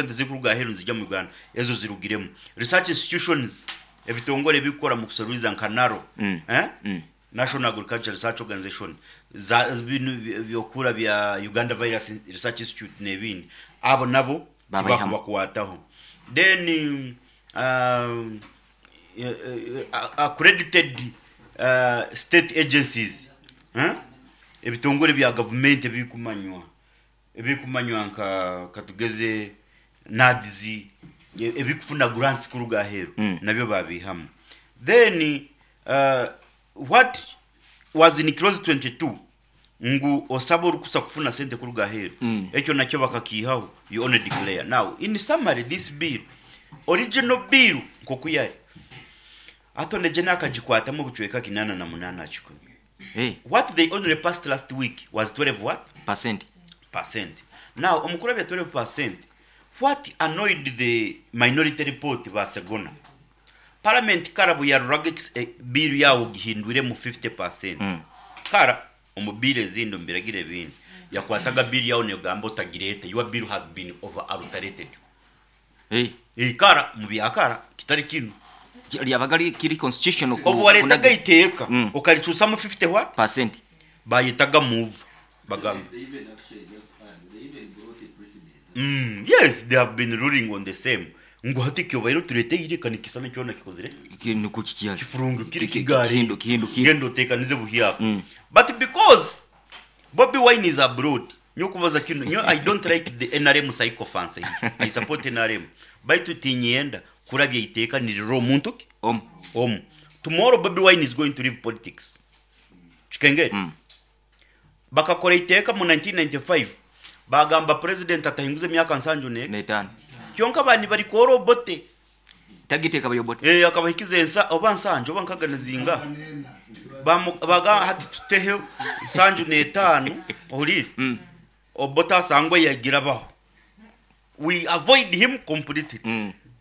Sente zirikuruga aheeru nizija mu Uganda, ezo zirugiremu. Research institutions, ebitongore ebirikukora mu kuseruliza nka NARO, eh? National Agriculture Research Organization, za binu by'okukura bya Uganda Virus Research Institute n'ebindi, abo nabo Babaihamu. tibakubakwataho. Then accredited state agencies, ebitongore bya gavumenti ebirikumanywa ebirikumanywa nka katugeze NAADS, ebirikufuna grants kuruga aheeru nabyo baabiihamu. Then what was in clause 22 ngu osabe orukusa kufuna sente kuruga aheeru, ekyo nakyo bakakiihaho, you only declare. Now in summary this bill, original bill nkoku yari, Attorney General akagikwatamu obucweka 88 aha kikumi. What they only passed last week was 12 what? Percent. Percent. Now omu kurabya 12%, what annoyed the minority report ba Segona, Parliament kara buyaruraga bill yawe ogihindwiremu 50%, kara omu bill ezindi omu biragiro ebindi yakwataga bill yawe negamba otagireeta, your bill has been over alterated. Kara omu bya kara kitari kinu. Ryabaga rikiri constitutional Obu wareetaga eiteeka okaricuusamu 50 what? Percent. Bayetaga move bagamba. Yes they have been ruling on the same ngu hati ekyobaire otureteire ka nikisana kyona kikozire Nikwo kikihari. Kifurungukire kigare Kihindukire. Genda otekanize buhyaka but because Bobi Wine is abroad nyowe kubaza kinu nyowe I don't like the nrm sycophancy here I support nrm baitu tinyenda kurabya iteeka nirirora omuntu ki Omu. Omu tomorrow Bobi Wine is going to leave politics kikengeri Bakakora eiteeka mu 1995 baagamba purezidenti atahinguza emyaka nsanju n'eka. N'etaano. Kyonka baaba nibarikoora Obote. Tagita ekaba y'Obote. Ee, akabahikiza ensa oba nsanju oba nkaga nizingaha. Baagamba hati tuteho nsanju n'etaano, ohuriire? Obote asangwe yagira abaho. We avoid him completely.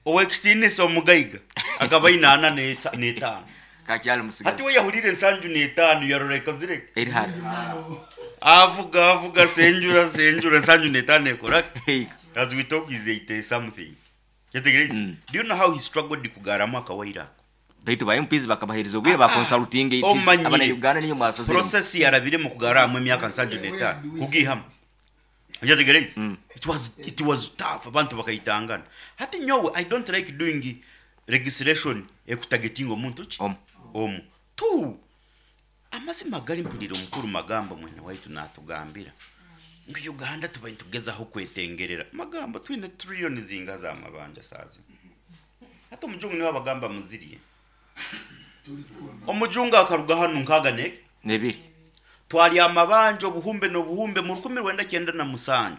Ow'ekitiinisa omugaiga akaba aine ana n'etaano. Kakyali musigazi. Hati we yahuriire ensanju n'etaano yarora ekozire ki? Eri hare. Avuga avuga senjura senjura ensanju n'etaano ekora ki? Ehika. As we talk he's 80 something. Kyetegereize? Do you know how he struggled kugaaramu akawaire ako? Baitu ba MPs bakabahereza obwire ba consultinga it is Omanyire abana Uganda niyo mwasaziremu. process yarabiremu kugarramu emyaka nsanju n'etaano kugiihamu. Okyetegereize? It was, it was tough abantu bakaitangana. Hati nyowe I don't like doing legislation ekutagetinga omuntu ki? Omu. Omu. Two, amazima gari mpuriire omukuru Magambo mwene waitu natugambira ngu Uganda tubaire nitugezaho kwetengerera. Magambo twine trillion zingaha za mabanja saaha zinu? Hati omujungu niwe abagamba muzirye. Omujungu akaruga hanu nkaaga n'eki? N'ebiri. Twarya amabanja obuhumbe n'obuhumbe mu 1997.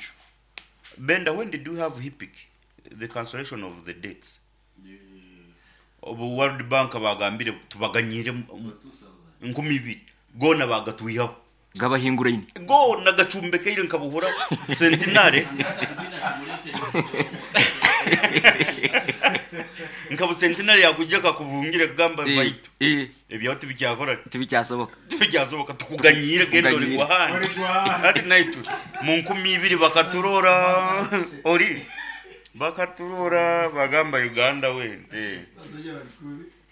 Benda, when did we have HIPC, the cancellation of the debts? Obu World Bank baagambire tubaganyiire 2000, goona baagatwihaho. Gabahinguraine. Goona gacumbekaire nka buhura centenary nka bu centenary yakwija ekakubungira ekugamba baitu ebyawe tibikyakora ki? Tibikyasoboka. Tibikyasoboka tukuganyiire genda ori Tukuganyiire. gwahandi. Hati naitwe mu 2000 bakaturora ori bakaturora bagamba Uganda wente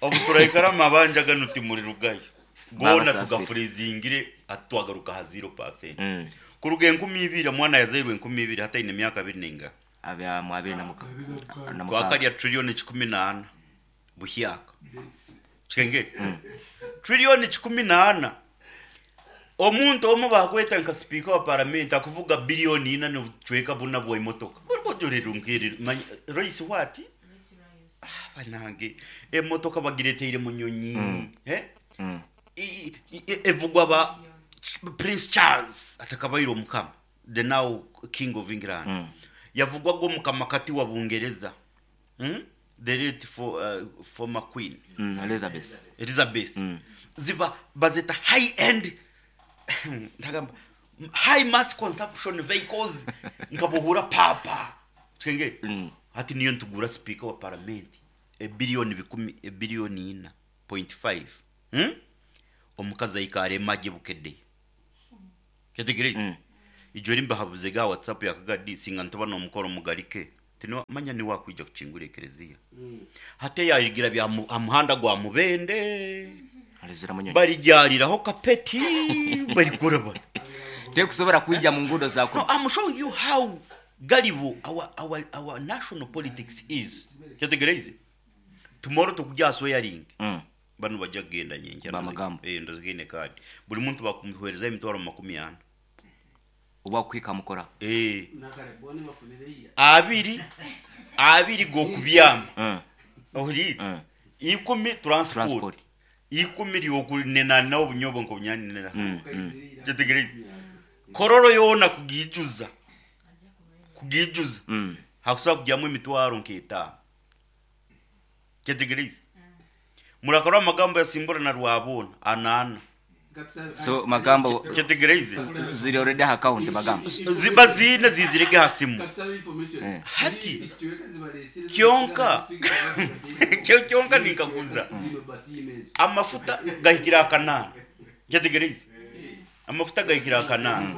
obu turaikara amabanja ganu timurirugayo. Goona Babasaasire. tugafreezingire hati twagaruka aha zero percent. Kuruga 2000 omwana yazairwe 2000 hati aine emyaka abiri n'engaha? Abya mu abiri na muka- na mukaaga. Twakarya trillion 14 buhyaka. Kikengeri? Trillion 14. Omuntu omwe baakweta nka sipiika wa paramenti akuvuga billion ina n'obucweka buna bw'emotoka. Bojorera nkerire manya Royce what? Ah banange emotoka bagireteire munyonyi eh? Evugwa ba Prince Charles atakabaire omukama the now king of England yavugwaga omukama kati wa Bungereza the late former queen Elizabeth. Elizabeth ziba bazeta high end ntagamba high mass consumption vehicles nkabuhura papa Kikengeri? Hati niyo nitugura sipiika wa paramenti ebiliyoni bikumi ebiliyoni ina point five Omukazi aikaare emagye Bukedea. Kyetegereize? Ijo eri mbahabuze ga WhatsApp ya Kagadi singa nituba n'omukoro mugarike. Manya niwe akwija kukingura ekereziya. Hati yayigira bya ha muhanda gwa Mubende. Alezera munyonyi. Barigyariraho kapeti barikora bati. Tekusobora kwija mu ngudo No, zako. I'm showing you how gullible our national politics is. Kyategereize. Tomorrow tukujya swearing. Bano bajja kugenda nyenkya. Bamagambo. Ndozigine card. Buli muntu bakumuhereza emitwaro 40. Oba kwika mukora. Abiri gokubyama. Ohiri. 10 transport. Transport. 10 lyokunena nawo obunyobo nkobunyanira. Kyategereize. Kororo yona kugijuza. Kugijuza. Hakusobola kujyamu emitwaro nk'etaano. Kyategereize. Murakora amagambo yasimbura na Rwabona anana. So magambo Kyategereize. ziri already account magambo. Ziba zine zizirege hasimu. Hati kyonka kyonka nikaguza. Amafuta gahikira akanana. Kyategereize. Amafuta gahikira akanana.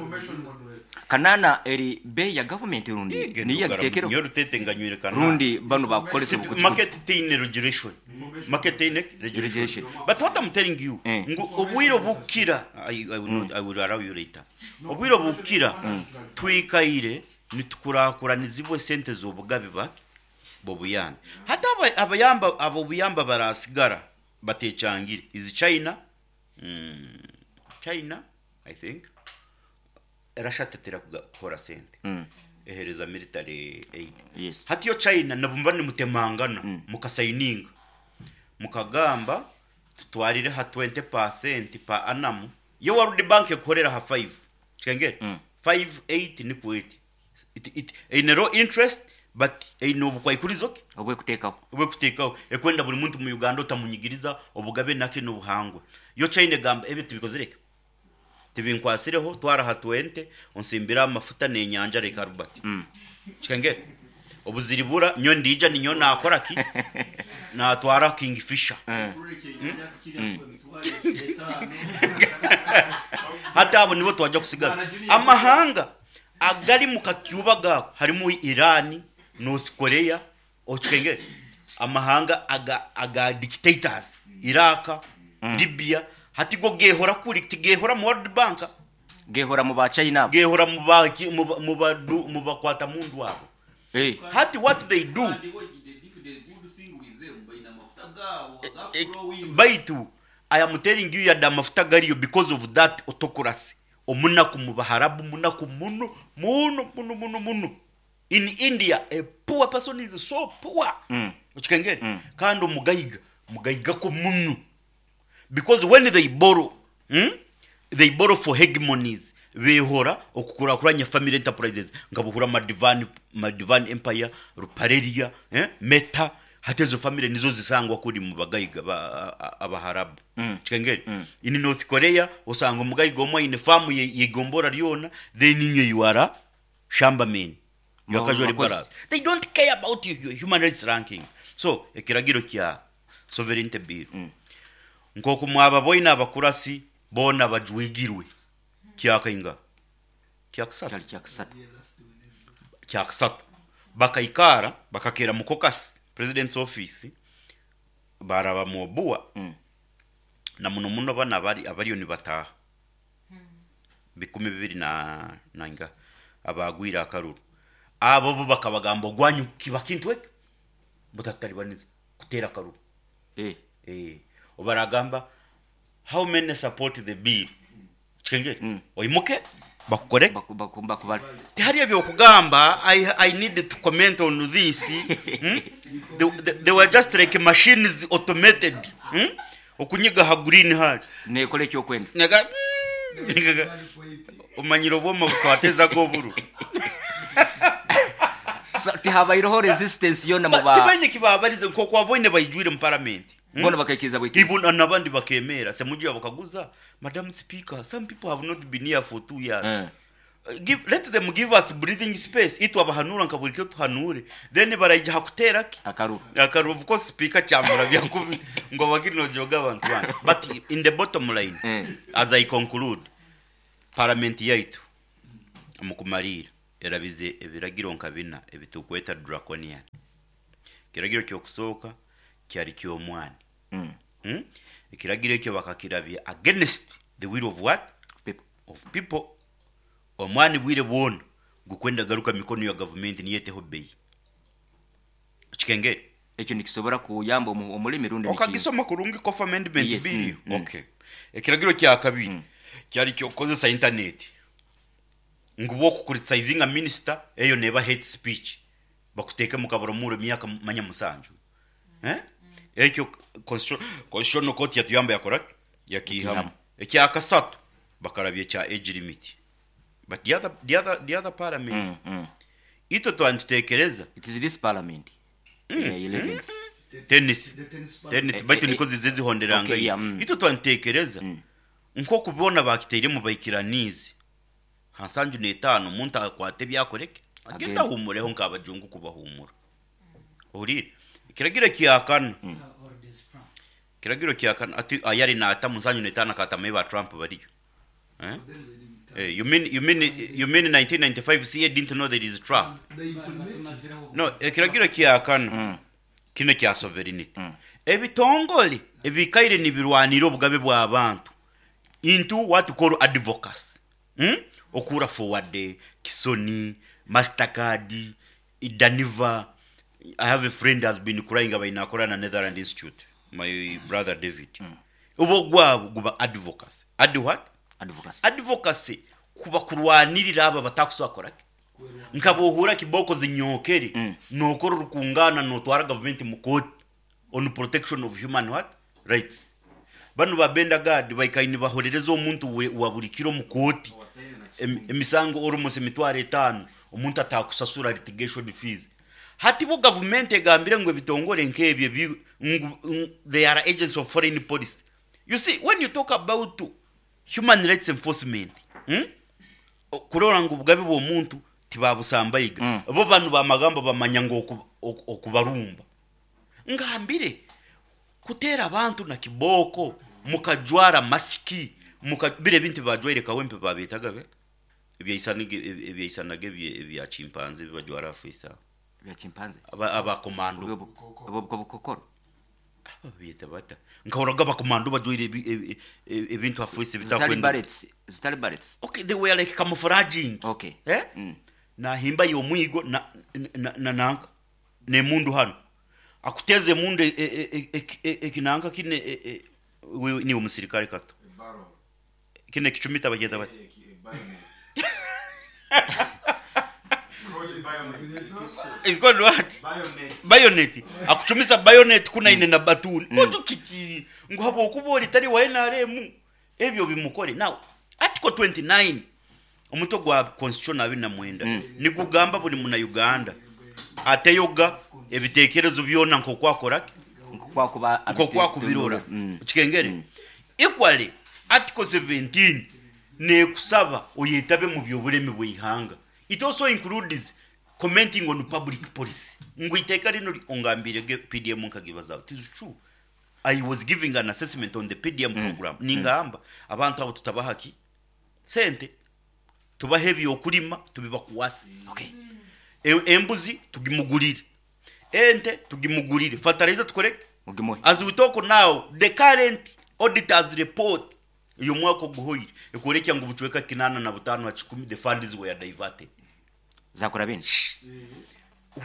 Kanana eri bei ya government rundi niyo yagitekero Nyo rutete nganywire kanana. Rundi bano bakukolesa bukuti. Market teine regulation. Market teine regulation. Regulation. But what I'm telling you, ngu obwiro bukira, I will not, I will allow you later. Obwiro bukira twikaire nitukurakuranizibwe sente z'obugabi baki bobuyambi. Hata abayamba abo buyamba barasigara batecangire. Is China? China, I think. Russia tetera kukora sente. Ehereza military aid. Yes. Hati yo China nabumba ni mutemangana mukasayininga mukagamba tutwarire ha 20% pa annum. Yo World Bank ekorera ha 5. Chikengere 5 8 ni kweti. It in low interest but ino bukwaikurizoke obwe kutekaho. Obwe kutekaho ekwenda buli muntu mu Uganda otamunyigiriza obugabe nake n'obuhangwa. Yo China gamba ebyo tubikozereka. Tibinkwasireho twara ha 20 onsimbira amafuta n'enyanja reka Albert. Chikengere obuziribura nyo ndija ninyo nakora ki natwara Kingfisher. Hata abo nibo twajya kusigaza amahanga agari mu kakyuba gako harimo Iran, North Korea, ochikengere amahanga aga dictators Iraq, Libya hati go gehora kuri tigehora mu World Bank gehora mu ba China gehora mu ba mu ba mu bakwata mundu wabo. Hati what they do baitu I am telling you yada mafuta gariyo because of that autocracy. Omunaku mu Baharabu, munaku muno muno muno muno muno. In India a poor person is so poor. Uchikengere kandi mugaiga ko muno. Because when they borrow, they borrow for hegemonies. Behora okukurakuranya family enterprises ngabuhura Madivan Empire, Ruparelia, Meta, hatezo family nizo zisangwa kuri mu bagaiga abaharabu. Chikengere. In North Korea osanga mugaiga omwe in farm yegombora ryona, then inye you are shamba men. You are casually barab. They don't care about your human rights ranking. So ekiragiro kya sovereignty bill. Nkoko mwaba boina abakurasi bona bajwigirwe. Kyakainga. Kyakusatu. Kyakusatu. Kyakusatu. Bakaikara bakakera mu caucus president's office baraba mobua. Na muno muno bana bari abariyo ni bataha. 20 na inga abagwira akaruru. Abo bo bakabagamba gwanyu kibakintwe mutataribaniza kutera akaruru. Obaragamba how many support the bill? Chikengere. Oimuke bakukore bakubali. Tihari ebyo kugamba I need to comment on this. They were just like machines automated. Okunyiga ha green hall. Nekole kyo kwenda. Nega omanyiro obwoma bukateza goburu. So tihabayiroho resistance yona mu ba. Tibaine kibabarize nko kwaboine bayijwire mu parliament. Bona bakakiza bwiki. Ibona nabandi bakemera semuji bakaguza Madam Speaker, some people have not been here for 2 years. Let them give us breathing space. Itu abahanura nkaburikyo tuhanure. Then barayija hakutera ki? Akaruru. Akaruru of course speaker cyamura byankubi ngo bagino joga abantu bana. But in the bottom line as I conclude, parliament yaitu mukumarira. Erabize ebiragiro nka bina ebitukweta draconian. Ekiragiro ky'okusooka kyari ky'omwani. Ekiragiro ekyo bakakirabya against the will of what? People. Of people. Omwani bwire bwona gukwenda garuka mikono ya gavumenti niyo eteho beyi. Okikengere? Ekyo nikisobora kuyamba omulimi rundi Okagisoma kurungi Coffee Amendment Yes. Bill? Okay. Ekiragiro kya kabiri kyari ky'okukozesa internet. Ngu bw'okucriticizinga minister, eyo neeba hate speech. Bakuteeke mu kaburamuro emyaka manya 7. Eh? Ekyo Constitutional Court yatuyamba yakora ki? Yakiihamu. Yakiihamu. Ekya kasatu bakarabya ekya age limit. But the other parliament, itwe twanitutekereza It is this parliament. Yeah, 11th. Tenth. The tenth. Tenth. Baitu niko zize zihonderanga. Okay, yeah. Itwe twanitekereza nk'okubona bakiteiremu baikiranize ha 75, omuntu akwate ebyakoreke agenda Agenda. ahumureho nk'abajungu kubahumura. Ohuriire? Ekiragiro kyakana, kiragiro kyakana ati ayari naata 75 akatamayo ba Trump bariyo, eh? Eh, you mean 1995 CA didn't know there is Trump? They implement it. No, ekiragiro kyakana kino kya sovereignty. Ebitongole ebikaire nibirwanira obugabe bw'abantu into what you call advocacy, Okura Forward, Kisoni, Mastercard, Daniva. I have a friend has been crying abainakora na Netherland Institute, my brother David. Obwo gwabo guba advocacy. Ad what? Advocacy. Advocacy kuba kurwanirira aba batakusobola nkabohura kiboko zinyokere nokora orukungana notwara gavumenti mu court on protection of human what? Rights. Bano ba Benda Gad baikaini bahorereza omuntu wa buri kiro mu kooti emisango almost 50,000, omuntu atakusasura litigation fees. Hati bo gavumenti egambire ngu ebitongole nk'ebyo they are agents of foreign policy. You see, when you talk about human rights enforcement, Kurora ngu obugabe bw'omuntu tibabusambayiga, bo banu bamagamba bamanya ngu okubarumba ngambire kutera abantu na kiboko mukajwara masiki muka bire ebintu bajwaire Kawempe babetaga be ebyaisanaga ebya chimpanzee bibajwara afisa. Bya chimpanzee. Abakomando. Obwo bukokoro. Babyeta bata? Nkahoraga abakomando bajwaire ebintu afisi Zitali bitakwenda. Bullets, zitali bullets. Okay, they were like camouflaging. Eh? Nahimba y'omwigo na nanka nemundu hano akuteze emundu ekinanka kine ni omusirikare kato kine kicumita bagenda bati. It's called what? Bayonet. Akuchumisa bayonet kuna ine na batuni ojo kiki ngu habwokuba ori tari wa NRM ebyo bimukore. Now, article 29, omutwe gwa constitution 29, nikugamba buli muna Uganda ateyoga ebitekerezo byona nkokwakora Nkokwakuba nkokwakubirora. Okikengere? Equally, article 17 nekusaba oyetabe mu byobulemi bw'ihanga. It also includes commenting on public policy. Ngu iteeka lino ongambire PDM nkagibazaho. It is true, I was giving an assessment on the PDM program, ningamba abantu abo tutabahaki sente, tubahe ebyokulima tubibakuwasi. Embuzi tugimugulire, ente tugimugulire, fertilizer tukoreke. Mugimuhe. As we talk now, the current auditors report uyu mwaka oguhoire ekworekya ngu bucweka 85 the funds were diverted. Zakora bini.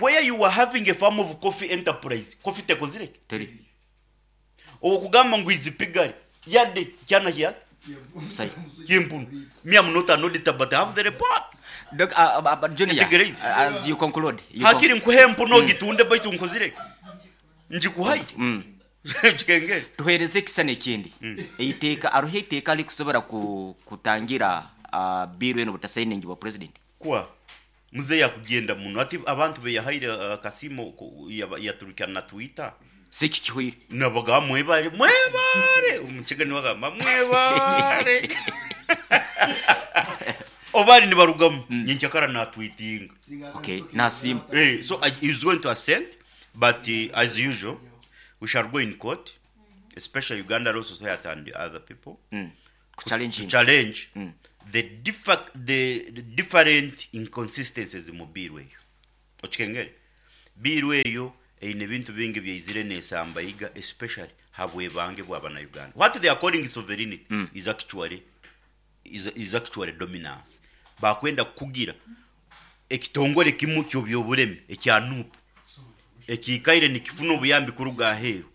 Where you were having a farm of coffee enterprise, coffee tekozireke. Teri. Okugamba ngu izipigari yadde kyana kyake. Sai. Kimpunu me, I'm not an auditor, but I have the report. Doc, Junior, Integrate. as you conclude, you Hakiri nkuhe empuno ogitunde baitu nkozireke njikuhaire. Kikengere? Tuhereze ekisana ekindi eiteeka aroho eiteeka likusobora kutangira bill eno butasainingibwa president. Kwa muzeeyi akugenda muno ati abantu beyahaire akasiimo yaturukana na Twitter. Siki kihuire. Nabaga mwebale, mwebale, omukiga nibagamba mwebale obali nibarugamu nyenkyakara natweetinga. Okay, nasiima. Eh, so he's going to assent, but as usual we shall go in court, especially Uganda Law Society and the other people, Kuchallenge. To challenge. the, the different inconsistencies mu bill eyo. Okikengere bill eyo eine ebintu bingi byaizire nesambaiga, especially habwebange bw'abana-Uganda. What they are calling sovereignty is actually dominance. Bakwenda kukugira ekitongore kimu ky'obyobulemi ekya NUP ekiikaire nikifuna obuyambi kuruga aheeru.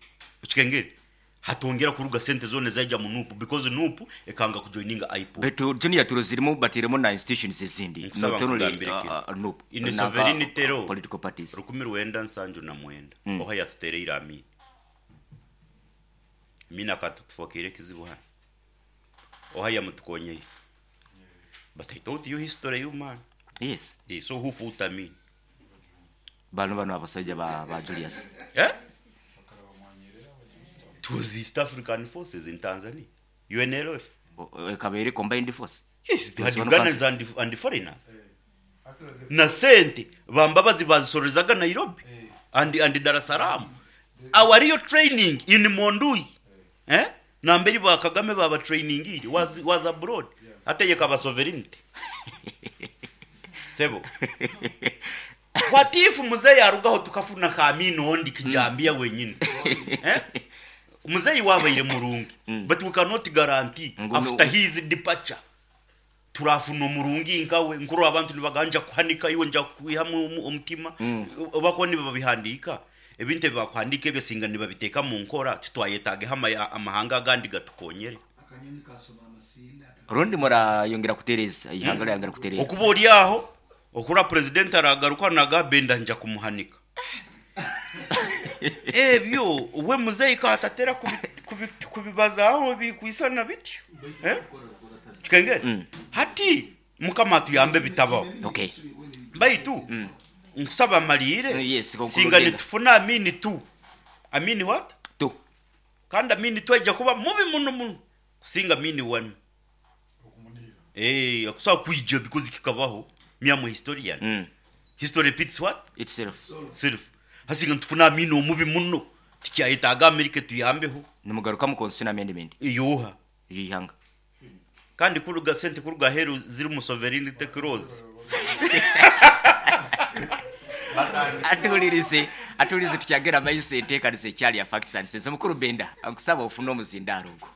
Okikengere, hatongera kuruga sente zona zaija mu NUP because NUP ekanga kujoininga IPOA. Betu junior turozirimu batiremu na institutions ezindi. Nkusaba not only nkugambire kino. NUP In naka sovereignty law, political parties. 1979, oha yatutereire Amini? Amini akatutufokere ekizibu hano. Oha yamutukonyeye? But I told you history, you man. Yes. Eh, so who fought Amin? Bano abasajja ba Julius. Eh? It was East African forces in Tanzania, UNLF. Ekabeere combined force. Yes, they had Was one Ugandans and foreigners. Na sente bambabazi bazisorozaga Nairobi and Dar es Salaam. Our real training in Mondui, eh, namberi ba Kagame baba training iri was abroad. Ategeka aba sovereignty sebo. What if muzeyi arugaho tukafuna ka Amini ondi kijambia wenyine, eh? Muzeyi wabaire murungi, but we cannot guarantee after his departure turafuna omurungi nkawe. Nkuru abantu nibaganja kuhanika iwe nja kwihamu omutima obako nibabihandika ebintu ebibakuhandika ebyo singa nibabiteeka mu nkora, titwayetageho amahanga agandi gatukonyere. Akanyonyi kasoma amasinda. Rundi murayongera kutereza ihanga ryayongera kutereza. Okuba ori aho okura president aragaruka nagabenda nja kumuhanika ebyo we muzeyi katatera kubibazaho bikwisana bityo, eh? Kikengere hati Mukama atuyambe bitabaho. Baitu nkusaba malire. Yes, singa nitufuna Amini tu, Amini what? Tu. Kandi Amini tu aija kuba mubi muno muno kusinga Amini one. Eh, akusobola kwija because kikabaho myamwe historian. History repeats what? Itself. Self. Hasinga nitufuna Amini omubi muno, tikyayetaaga Amerika tuyambeho. Nimugaruka mu constitution amendment. Iyuha y'ihanga. Kandi kuruga sente kuruga heru ziri mu sovereignty clause. Atuwulirize, tukyagera maiso enteekaniza ekyali ya facts and sense. Omukulu Benda, nkusaba ofune omuzindaalo ogwo.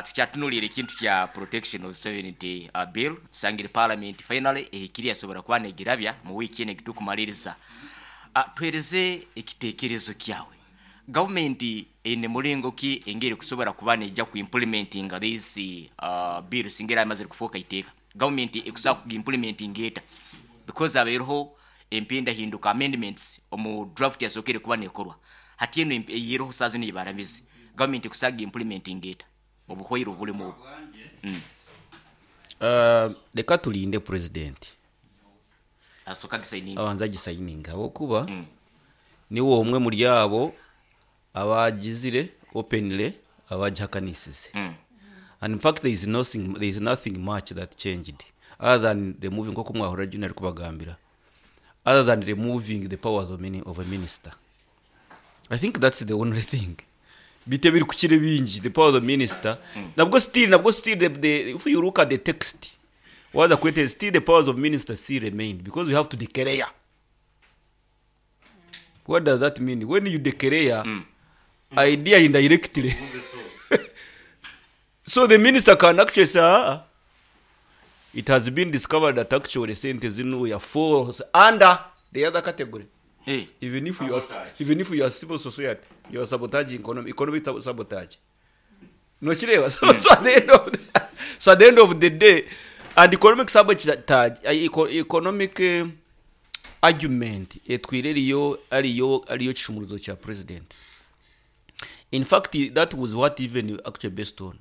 Tukyatunuulira ekintu kya protection of sovereignty bill. Tusangire parliament finally ehikiri yasobora kuba negirabya mu wiiki eno egitukumaliriza. Tuhereze ekiteekerezo kyawe, gavumenti eine mulingo ki engeri kusobora kuba nejja ku implementinga this bill singa era amazire kufuuka iteeka? Gavumenti ekusobola kugimplementinga eta? Because abeereho empindahinduka, amendments omu draft yasookere kuba nekorwa, hati eno eyiroho saa zino yibaramize, gavumenti ekusobola kugimplementinga eta obuhwaire obulimu obu? Reka tulinde president asooka gisayininga. Abanza agisayininga, habwokuba niwe omwe muri abo abagizire openly abagihakanisize. And in fact there is nothing much that changed other than removing, nkoku mwahura Junior ari kubagambira, other than removing the powers of a minister. I think that's the only thing bite biri kukira bingi. The powers of minister nabwo still if you look at the text waza kwete, still the powers of minister still remain because you have to declare. What does that mean when you declare? Idea indirectly, so the minister can actually say, ah, it has been discovered that actually sente zino ya falls under the other category. Eh. Even if you are civil society, you are sabotaging economic sabotage. No kireba. So at the end of the day, and economic sabotage, economic argument etwire ariyo ariyo kishumuruzo cya president. In fact, that was what even actually based on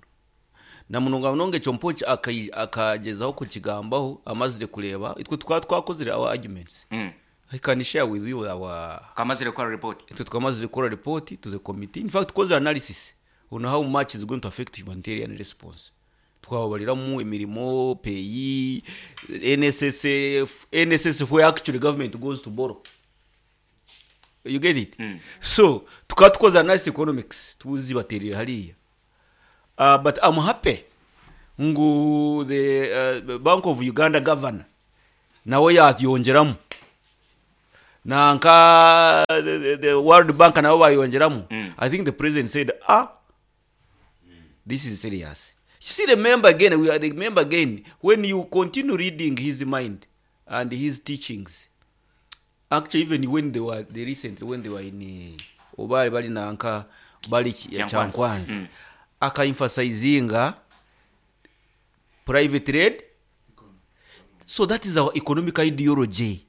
na munonga munonga ekyo mpoki akagezaho kukigambaho amazire kureba itwe twaba twakozire our arguments. I can share with you our Kamazire gukora report. Itwe twamazire gukora report to the committee. In fact, tukoze analysis on how much is going to affect humanitarian response, twababariramu emirimo PAYE, NSSF, NSSF where actually government goes to borrow. You get it? So tukaba tukoze analysis economics tuzibaterera hariya. But I'm happy. Ngu the Bank of Uganda governor nawe yayongyeramu nanka the World Bank nabo bayongyeramu. I think the president said, ah, this is serious. You see, remember again, we are remember again, when you continue reading his mind and his teachings, actually even when they were, they recently, when they were in, oba bali nanka, bali Kyankwanzi. Kyankwanzi, aka-emphasizinga private trade. So that is our economic ideology.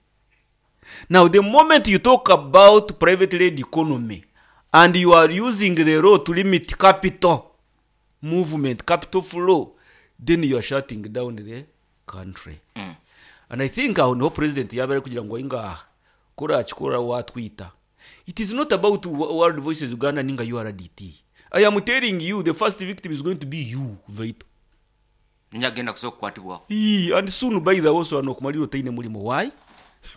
Now, the moment you talk about private led economy and you are using the law to limit capital movement, capital flow, then you are shutting down the country. And I think aho niho president yaba ari kugira ngo ingaha kurakikora watwita. It is not about World Voices Uganda ninga URDT. I am telling you, the first victim is going to be you, Vito. Ninyagenda kusobola kukwatibwaho. Ee, and soon by the also anokumalira otaine mulimo. Why?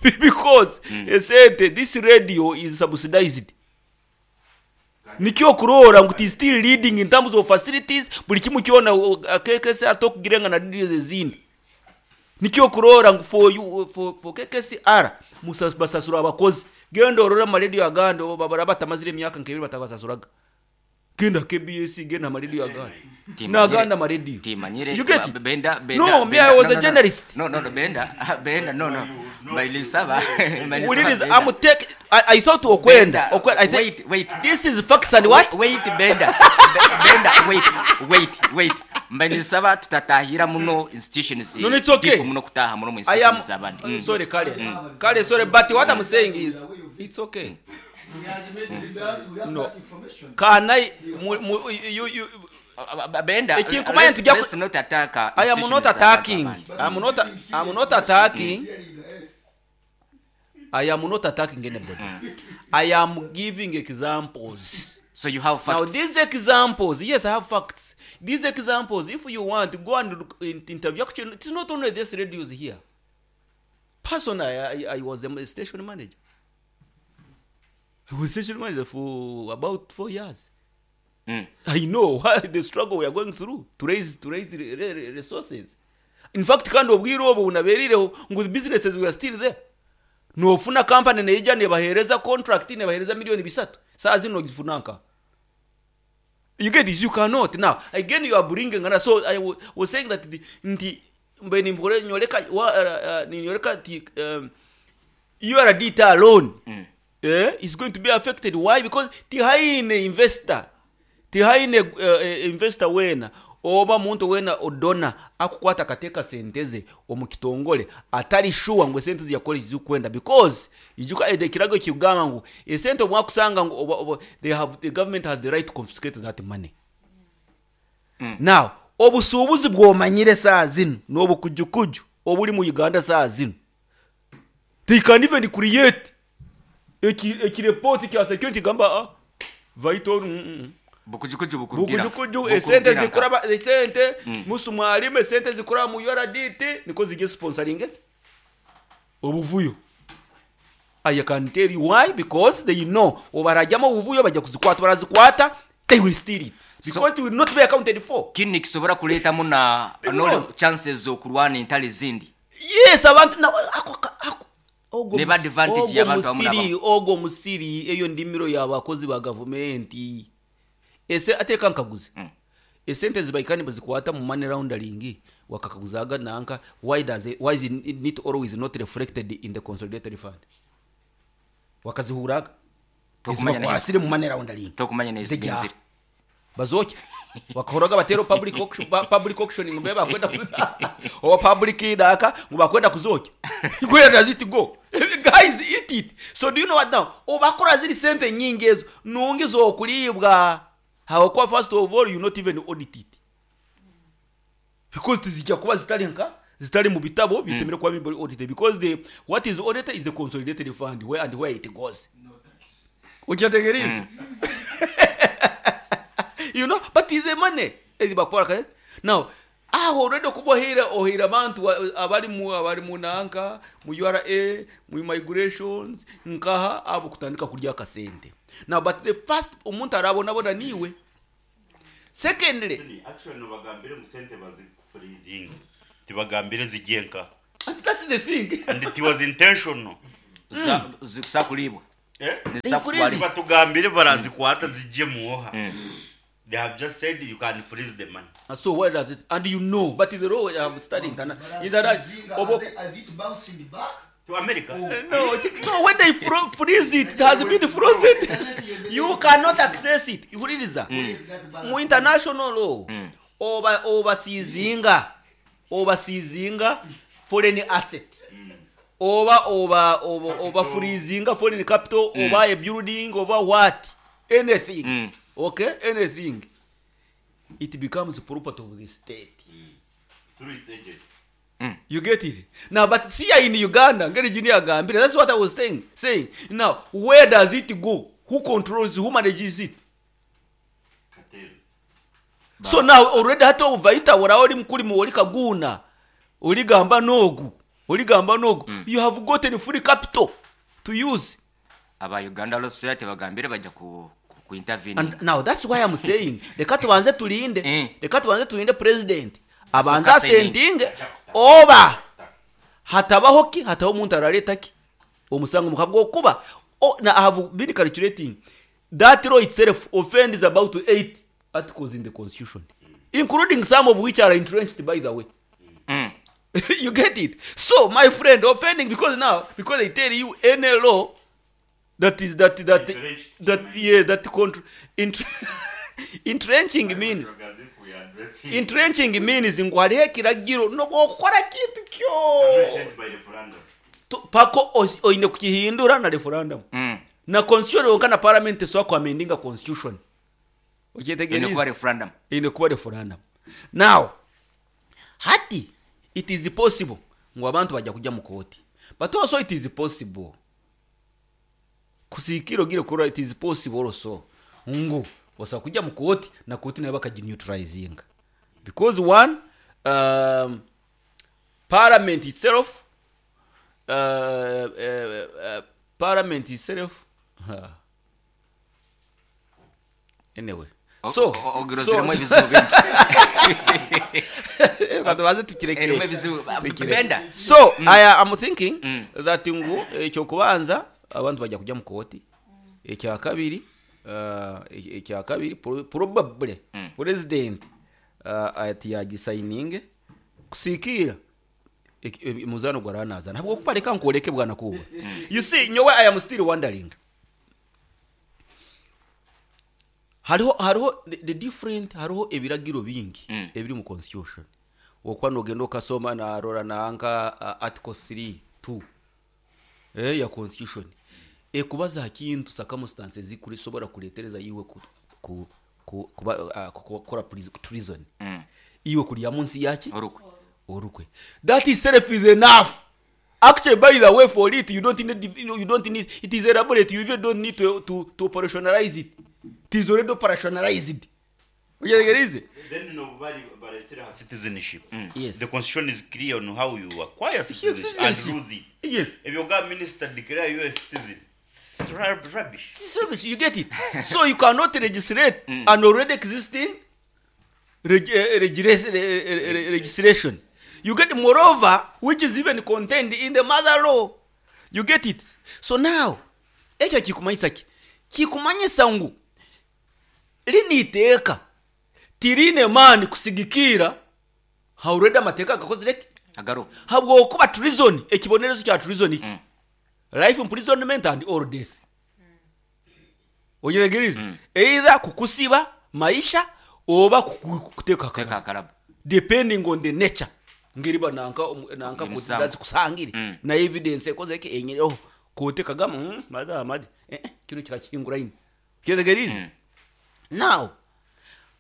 Because esente, this radio is subsidized. Nikyo kurora ngu it is still leading in terms of facilities, buli kimu kyona, KKC atokugirenga na radios ezindi. Nikyo kurora ngu for you, for KKCR basasura abakozi. Genda orora ama radio agandi, obo babara batamazire emyaka nk'ebiri batabasasuraga. Genda KBS, genda ama radio agandi. Naganda ama radio. Timanyire, You get it? Benda, Benda, No, me, Benda, I was no, a no, no. journalist. No, no, no, Benda, Benda, no, no. Bailisaba, Bailisaba, We need is, Benda. I'm take, I thought Okwenda. Benda, Okwenda, I think wait, wait. This is facts and what? Wait, wait, Benda. Benda, wait, wait, wait. Mbailisaba tutatahira muno institutions. No, no, it's okay. Deep muno kutaha muno mu I am institutions abandi. Sorry, Kale. Kale, sorry, but what I'm saying is it's okay. No. Can I mu, you, you, Benda, Ekinkumanya tujja ku- let's not attack I am not institutions attacking. abandi. I'm not attacking. I am not attacking anybody. I am giving examples. So you have facts. Now these examples, yes, I have facts. These examples, if you want, go and look in, interview. Actually, it's not only this radios here. Personally, I was a station manager. I was station manager for about 4 years. I know the struggle we are going through to raise resources. In fact, kandi obwire obwo bunaberireho ngu businesses we are still there. Nofuna company neija nebahereza contract nebahereza milioni 3. Saa zino ogifunanka. You get this? You cannot. Now, again, you are bringing another. So I was saying that the, nti, mbe nimbore nyoleka, wa, ninyoleka ti, URDT alone, is going to be affected. Why? Because tihaine investor. Tihaine investor wena oba muntu wena odona akukwata kateka senteze omukitongole atari sure ngo sente ziyakola zikwenda because ijuka ede kirago kigamba ngo esente omwakusanga ngo oba, they have, the government has the right to confiscate that money. Now obusuubuzi bwomanyire saa zino n'obukujukuju obuli mu Uganda saa zino, they can even create eki report kya security gamba vital Bukujukuju bukurugira. Bukujukuju esente zikuraba esente musu mwalimu esente zikuraba mu URDT niko zige sponsoring it. Obuvuyo. I can tell you why, because they know obarajamo obuvuyo bajya kuzikwata, barazikwata, they will steal it because it will not be accounted for. Kini kisobora kuletamu na They no will not. chances okurwana entale zindi. Yes, abantu na ako ogo Neba advantage y'abantu abamu n'abamu. ogo musiri eyo ndimiro y'abakozi ba gavumenti. Ese ateka nkaguze. Esente zibaikani bazikwata mu money laundering wakakaguzaga nanka, why does it, why is it not always not reflected in the consolidated fund? Wakazihuraga. Tokumanya Ezibakwasire neza. mu money laundering. Tokumanya neza Zijya. genzire. Bazoke. Wakahoraga batero public auction, public auction ngbe bakwenda oba public idaka ngo bakwenda kuzoke. Where does it go? Guys, eat it. So do you know what now? Obakora ziri sente nyingi ezo nungi zokulibwa. Hawakuwa first of all you not even audit it. Because tizijja kuba zitali nka zitali mu bitabo bisemere kuba bibali audited because the what is audited is the consolidated fund where and where it goes. No tax. Ukiyategereza. You know, but is the money. Ezi bakora kare. Now, aho already kubohera ohira abantu abali mu nanka, mu URA, mu migrations, nkaha abo kutandika kurya akasente. Now, but the first omuntu arabona bona niwe. Secondly, Actually, no bagambire mu sente bazifuna Freezing. Tibagambire zigenka. And that's the thing. And it was intentional. Zikusa kulibwa. Eh? Zikusa They freeze. kubalibwa. Batugambire barazikwata zijje muoha. They have just said you can freeze the money. And so where does it, and you know, but the law I have studied Barazizinga, are they bouncing back? To America. No, no, when they freeze it, it has been frozen. You cannot access it. Ihuririza. Mu international law, oba obasizinga, obasizinga foreign asset. Oba oba oba oba freezinga foreign capital, oba a building, oba what? Anything. Okay? Anything. It becomes property of the state. Through its agents. You get it? Now, but see here in Uganda, ngeri junior agambire, that's what I was saying. Saying now, where does it go? Who controls? Who manages it? Cartels. So now already hata ovaita wala oli mukuli mu oli kaguna, oli gamba nogu, oli gamba nogu. You have gotten free capital to use. Aba Uganda Law Society bagambire bajja ku intervene. And now that's why I'm saying leka tubanze tulinde, leka tubanze tulinde president abanza assenting oba hatabaho ki hatabaho omuntu araleta ki omusango mukabwo okuba. Now I have been calculating that law itself offends about 8 articles in the constitution, including some of which are entrenched, by the way. You get it? So my friend, offending because now, because they tell you any law that is that that that yeah that control entrenching means entrenching means ngu hariho ekiragiro nobwokukora kintu kyo pako oine kukihindura na referendum na constitution yonka na parliament so ku amendinga constitution. Okyetegereza ine kuba referendum, ine kuba referendum. Now hati it is possible ngu abantu bajja kujja mu kooti, but also it is possible kusikiro gire kura, it is possible also ngu osa kujja mu kooti na kooti nayo bakagineutralizinga because one, parliament itself anyway, so ogiroziremo ebizibu bingi. So I am thinking that ngu ekyokubanza abantu bajja kujja mu kooti, ekyakabiri probably president ati yagisigning kusikira muzano gwaranaza ntabwo kupareka nkoreke bwana kuba. You see, nyowe I am still wondering hariho the different, hariho ebiragiro bingi ebiri mu constitution okwa nogenda okasoma na rora nanka article 3(2) ya constitution ekubaza kintu circumstances zikulisobora kuletereza iwe ku kukora treason iwe kulya munsi yaki orukwe. That itself is enough. Actually, by the way, for it you don't need it is elaborate, you even don't need to operationalize it. It is already operationalized. Then nobody but citizenship. Yes. The constitution is clear on how you acquire citizenship and lose it. Yes. If you got minister declare you a citizen, it's rubbish. It's rubbish. You get it. So you cannot legislate an already existing legislation. You get, moreover, which is even contained in the mother law. You get it. So now, ekyo kikumanyisa ki? Kikumanyisa ngu liniteeka tirine mani kusigikira haureda amateeka gakozireke agaro habwo kuba treason, ekibonerezo kya treason iki life imprisonment and all death. Oyegereza either kukusiba maisha oba kuteka akarabo depending on the nature ngeriba nanka nanka kuzidazi kusangire na evidence ekozeke enyereho kuteka gama madama kino kikakingura ino kyetegeriza. Now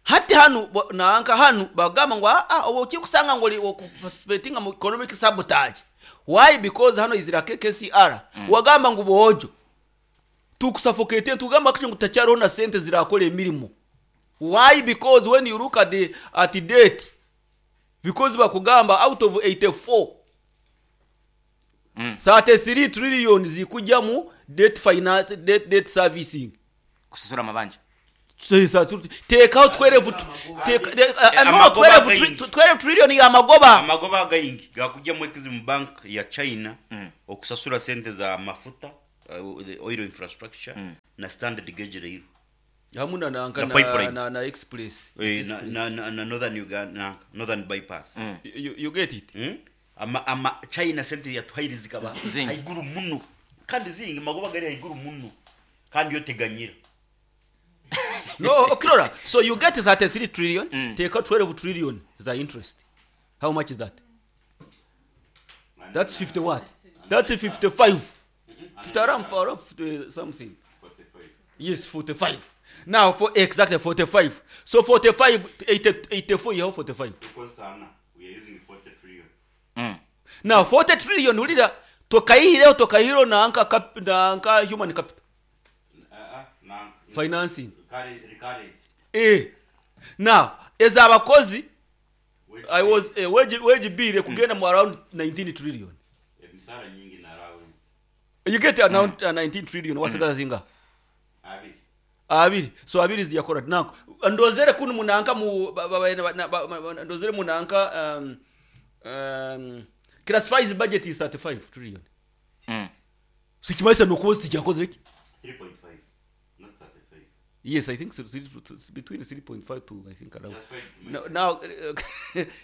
hati hanu nanka hanu bagamba ngo obo kikusanga ngo participating mu economic sabotage. Why? Because hano izira KKCR wagamba ngo bojo tukusuffocate tugamba kicho ngutacyariho na sente zirakora emirimo. Why? Because when you look at the at the date, because bakugamba out of 84 33 trillion zikujja mu debt finance, debt servicing kusasura mabanja. Teekaho 12 no, Amagoba 12 gaingi. 12 trillion y'amagoba. Amagoba gaingi gakujja mu Exim Bank ya China okusasula sente za mafuta, the oil infrastructure na standard gauge rail Hamu na na, Na na, pipeline. na express. Na, na northern Uganda, na northern bypass. You get it? Ama China sente yatuhaire zikaba Zingi. haiguru muno, kandi zingi, magoba gari haiguru muno, kandi yo teganyira. No, okirora, so you get 33 trillion, take out 12 trillion za interest. How much is that? That's 50 what? That's 55. 50, around 50 something. Yes, 45. Now for exactly 45. So 45, 80, 84, you have 45. We are using 40 trillion. Now 40 trillion ulira tokaihireo tokaihiro na anka cap, na anka human capital Na financing. Recurrent. Now ezabakozi I was wage bill kugenda mu around 19 trillion. Emisara nyingi na allowance. You get around 19 trillion, wasigaza zinga? Abiri. Abiri. So abiri ziyakora nako ndozere kunu munanka mu ndozere munanka classifies budget is 35 trillion. So kimaisa nokuba tijakoze ki? 3.5 not 35. Yes, I think so, between 3.5 to I think around. That's why Now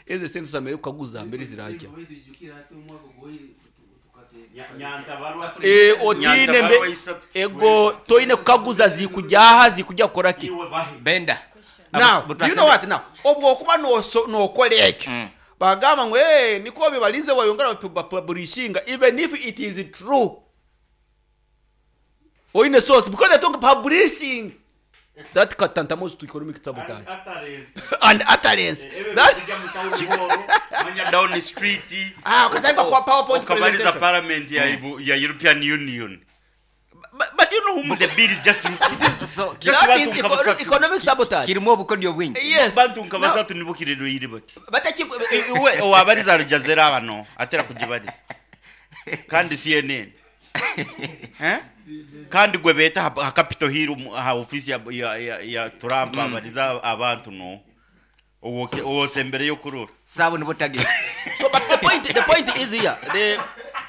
eze sente zamere kukaguza mbere zirajya. Nyantabarwa. Otine mbe ego toine kukaguza zikujyaha zikujya kukora ki? Iwe bahi. Benda. Now, you know what now? Obwo okuba nokola ekyo. Bagamba ngo niko bibalize wayongera publishinga even if it is true. Oine source because they talk publishing. That tantamount to economic sabotage. And utterance. That Manya down the street. Ukataipa kwa PowerPoint Ukabaliza presentation. parliament ya European Union. But you know whom the bill is just So just that bantu is nka basatu. economic sabotage. kirimu obukodyo bwingi. Yes. Bantu nka basatu nibo kirero yiri bati. Bataki Iwe owabariza Al Jazeera bano atera kugibariza. Kandi CNN. Kandi gwe beta ha Capitol Hill ha office ya Trump abariza abantu no. Owo mbere yo kurura. Sabo nibo target. So but the point is here. The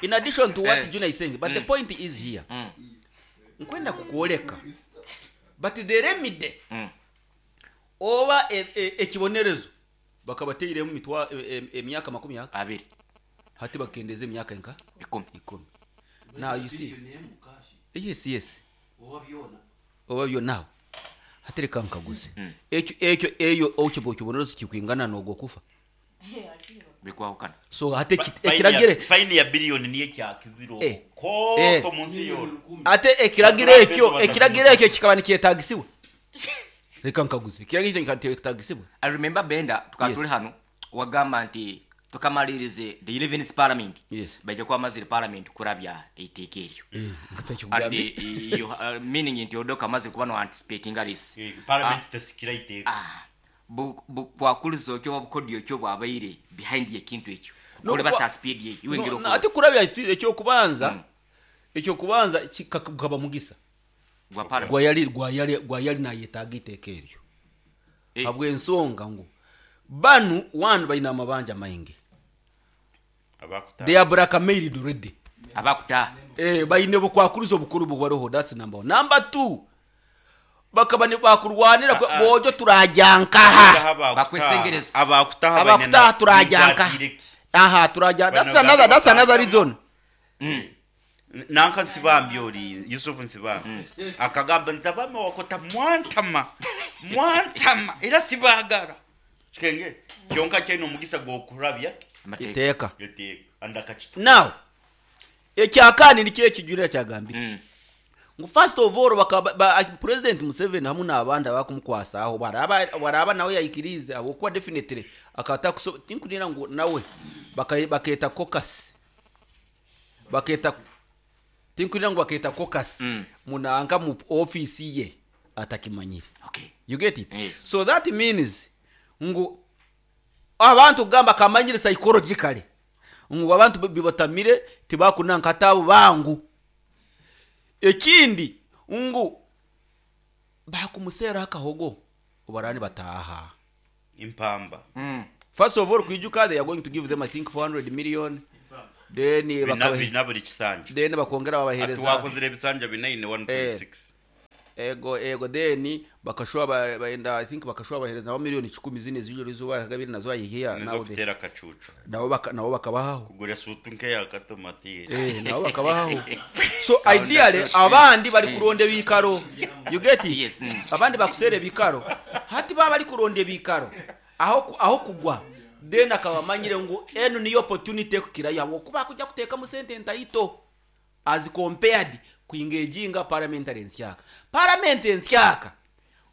in addition to what Junior is saying, but the point is here. Nkwenda kukuoleka. But the remedy oba ekibonerezo bakabateiremu mitwa emyaka 20. Hati bakendeze emyaka nka 10. Now you see. Yes. Oba byona now. Hatereka nkaguze. Ekyo eyo okibonerezo kikwingana nogwo kufa. Bikwahukana. So hate ekiragire fine ya billion niye kyakiziro. Ko munsi yoro. Ate ekiragire ekyo ekiragire ekyo kikaba nikyetagisiwe. Reka nkaguze. Ekiragire ekyo kyetagisiwe. I remember Benda tukatuli hano wagamba nti tukamalirize the 11th parliament. Yes. Bajja kwamazira parliament kurabya eiteeka eryo. And you meaning nti odoka amaze kuba no anticipating this. Parliament tesikira iteeka. Bwakuliza okyo obukodyo okyo bwabaire behind ekintu ekyo. Kole bata speed ye iwe ngiro. Ate kurabya ekyokubanza ekyokubanza kikaba mugisa. Gwayali nayetaaga iteeka eryo. Habw'ensonga ngu banu one balina amabanja maingi. They are blackmailed already. Abakuta. Balina obukwakuliza obukuru bwaroho, that's number 1. Number 2 bakaba ne bakurwanira bojo turajankaha. Bakwesengereza. Abakutaha turajanka. Aha turaja. That's another reason. Nanka Nsibambi ori Yusuf Nsibambi. Akagamba nzabama wakota mwantama era sibagara. Kikenge kyonka kyino omugisa gwokurabya iteeka. Andakachita. Now ekyakani nikyo ekijulira kyagambire. Ngu first of all President Museveni hamu n'abandi abakumukwasaaho baraba nawe yayikirize ahabwokuba definitely akata tinkunira ngu nawe baketa caucus. Baketa tinkunira ngu baketa caucus munanka mu office ye atakimanyire. Okay. You get it? Yes. So that means ngu abantu gamba kamanyire psychologically ngu abantu bibatamire tibakunanka tabo bangu. Ekindi ngu Bakumuseera akahogo obarani bataha. Impamba. First of all, kwijuka they are going to give them, I think, 400 million, then Bina buri kisanja. Then bakongera Ati babahereza. Wakozire ebisanja binaine 1.6. Ego, then bakashwa baenda, I think bakashwa bahereza nabo miliyoni 10 zine zijoro izuba gabiri nazo ayihiya. Nizo Nawe kutera akacucu. Nabo bakabahaho. Kugura sutu nkeya akatomati. Nabo bakabahaho. So ideally abandi bari kuronda ebikaro, you get it? Yes. Abandi bakusera ebikaro, hati baba bari kuronda ebikaro aho kugwa, then akaba amanyire ngu eno niyo opportunity ekukirayo habwokuba akujja kuteekamu sente ntaito as compared kuingeginga parliamentary ensyaka. Parliament ensyaka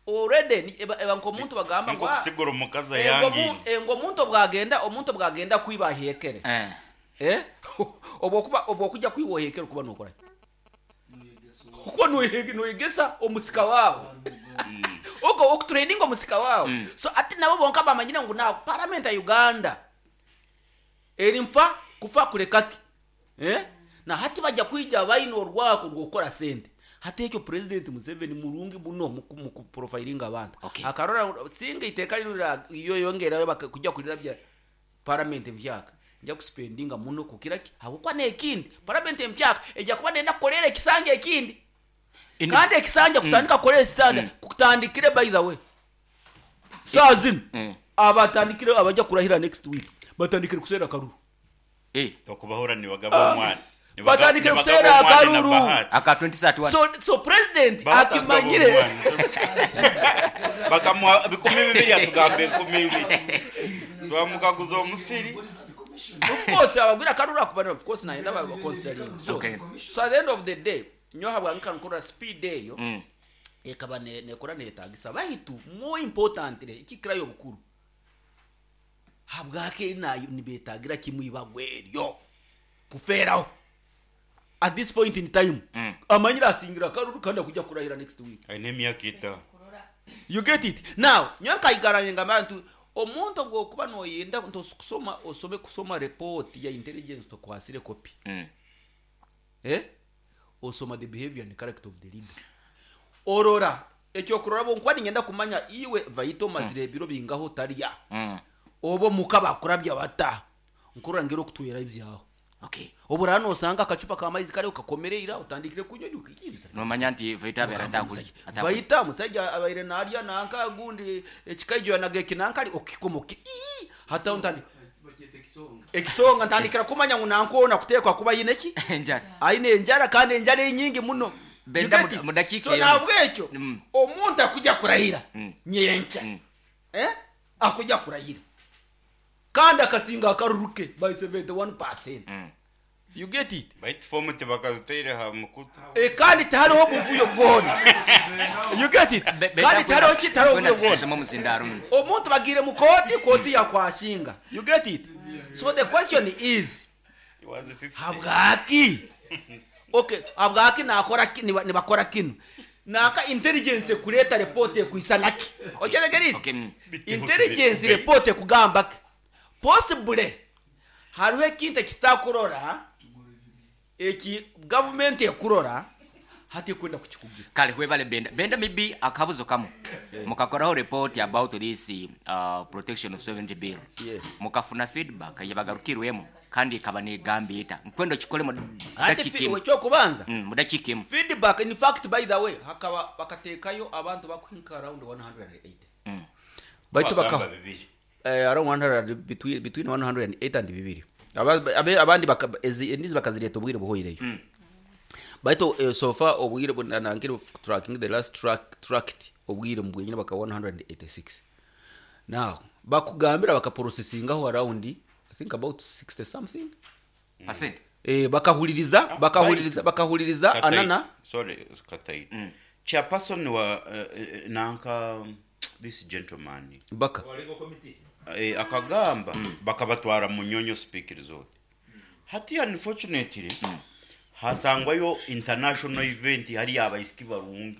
already eba nk'omuntu bagamba ngu, Nko kusigura omukazi engo ayangine. Engo omuntu bwagenda kwiba ahekere. Obwo kujja kwiba ohekere kuba nokora kuba noyegesa omusika wawe, ogo okutraining omusika wawe. So ati nabo bonka bamanyire ngu na parliament ya Uganda eri nfa kufa kulekaki, na hati bajja kwija bayina orwako rwokora sente. Hati ekyo President Museveni murungi muno mu kuprofilinga abantu. Akarora singa iteka rira iyo yongerayo kujja kulira bya parliament empyaka nja kuspendinga muno kukira ki habwokuba nekindi parliament empyaka ejja kuba nenda kukolera ekisanja ekindi. Kandi ekisanja kutandika kukolera ekisanja kutandikire, by the way, saa zino abatandikire abajja kurahira next week batandikire kusera karuru. Tokubahura nibagaba omwana. Batandikire kusera akaruru. Aka 2031. So president akimanyire. Bakamuha 2000, atugamba 2000 twamukaguza omusiri. Of course abagwira karuru akubana, of course naenda ba considering. So so at the end of the day nyo habwa nkankora speed eyo ekaba nekora netagisa, baitu more importantly ikikirayo obukuru habwake nayo nibetagira kimwibagwe eryo kuferaho at this point in time. Amanyira asingira karuru kandi akujja kurahira next week. Aine emyaka 5. You get it? Now nyo nkayigaranye ngamba nti omuntu gwokuba noyenda kusoma osome kusoma report ya intelligence tokwasire copy. Osoma the behavior and character of the leader, orora ekyokurora bo nkuba ningenda kumanya iwe vaito mazire ebiro bingaho tarya obo muka bakurabya bata nkurora ngero kutwera ibyaho. Obura nosanga akacupa k'amaizi kariho kakomereira utandikire kunywa ukikibita. Nomanya nti vaita abeera atakuli. Vaita musajja abaire narya nanka gundi ekikaijo yanaga ekinankali okikomoke hata ntandi ekisonga ntandikira kumanya ngu nankona kutekwa kuba yine ki Enjara. Aine enjara kandi enjara enyingi muno. Benda You get it? mudakika So emu. nabwekyo omuntu akujja kurahira nyenkya, akujja kurahira kandi akasinga akaruruke by 71%. You get it? Baitu fomu tibakaziteire ha mukutu. Kandi tihariho buvuyo bwona. You get it? Kandi tihariho ki tihariho buvuyo bwona. Tusome omuzindaro. Omuntu bagire mu koti, koti yakwashinga. You get it? So the question is, It was 50. habwaki, okay, habwaki nakora nibakora kino naka intelligence kureta report ekwisanaki otegereize? Okay. Intelligence report ekugamba ki possibly hariho ekintu ekitakurora eki government ekurora hati ekwenda kukikugira. Kale webale Benda. Benda, maybe akabuzo kamu mukakoraho report about this protection of sovereignty bill. Yes. Mukafuna feedback yabagarukirwemu kandi ikaba negamba eta nkwenda okikole mu Ate dakiika emu. ekyokubanza, Mu dakiika emu. Feedback, in fact, by the way, hakaba bakateekayo abantu bakuhinka around 180 baitu Bagamba baka bibiri. Around 100, between 108 and bibiri. Abandi endizi bakazireta obwire buhoireyo, baitu so far obwire nankiri tracking the last track tracked obwire mubwenyine baka 186. Now bakugambira bakaprocessingaho around, I think, about 60 something Percent. Bakahuliriza bakahuliriza bakahuliriza Kataito. anana. Sorry, Kataito. Chairperson wa nanka this gentleman Baka akagamba bakabatwara mu Nyonyo Speke Resort. Hati unfortunately hasangwayo international event, hari abaisiki barungi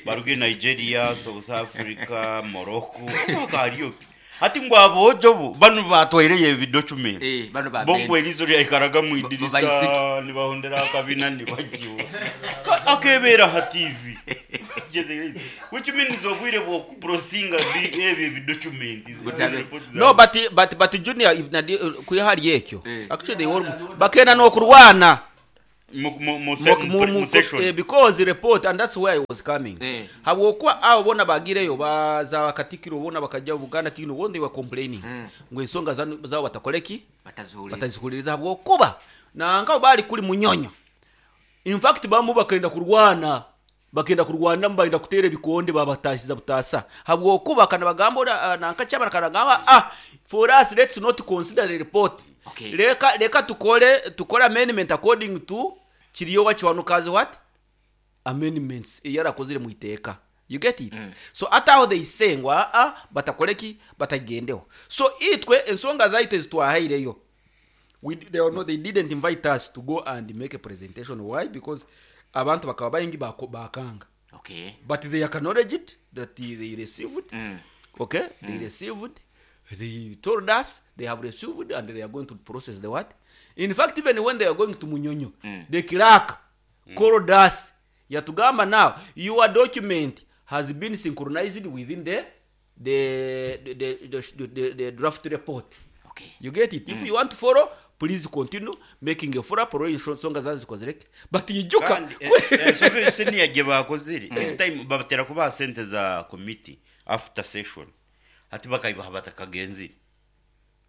baruge Nigeria, South Africa, Morocco, hariyo hati ngo abojo bo bano batwaireye ebidocument. Bano ba Bongo erizo lyaikaraga mu idirisa. Baisiki. Nibahondera akabina nibajuwa akebera ha TV. Which means obwire bw'okuprosinga ebyo ebidocument. No, but Junior, if nadi kwihali ekyo, Eh. actually they were bakenda n'okurwana mu session. Because report, and that's where I was coming. Eh. Habwokuba abo bona bagireyo baza bakatikiro bona bakajja Buganda Kingdom, bona they were complaining ngo ensonga zabo batakoleki, Bataziwulira. Batazihuliriza habwokuba nanka bali kuli Munyonyo. In fact bamu bakenda kurwana, bakenda kurwana, bagenda kutera ebikonde, babatasiza butasa habwokuba kana bagamba nanka kyabana kana gamba, ah, for us let's not consider the report. Okay. Leka tukole amendment according to kiriyo wakiwanukazi what amendments eyarakozire mu iteeka. You get it? So ate aho they say ngo aa batakoleki, batagendeho. So itwe ensonga zaitu ezitwahaireyo, they, are not, they didn't invite us to go and make a presentation. Why? Because abantu bakaba baingi bakanga. Okay. But they acknowledged it, that they received. Okay, they received. They told us they have received and they are going to process the what. In fact, even when they are going to Munyonyo, the clerk called us, yatugamba, now your document has been synchronized within the draft report. Okay. You get it? If you want to follow, please continue making a follow-up or ensonga zanzikozereke, but ijuka Kandi ensobi senior gye bakozire this time, babatera kubaha sente za committee after session, ati bakayibaha batakagenzire.